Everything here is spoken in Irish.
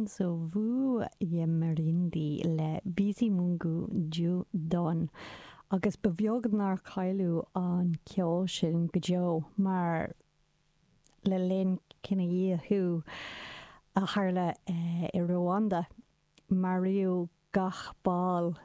Inzovu y'Imirindi le Bizimungu Dieu Donne. Agus ba bheag nár cailleadh an ceol sin go deo mar le linn cinedhíothú a tharla i Ruanda, maraíodh gach ball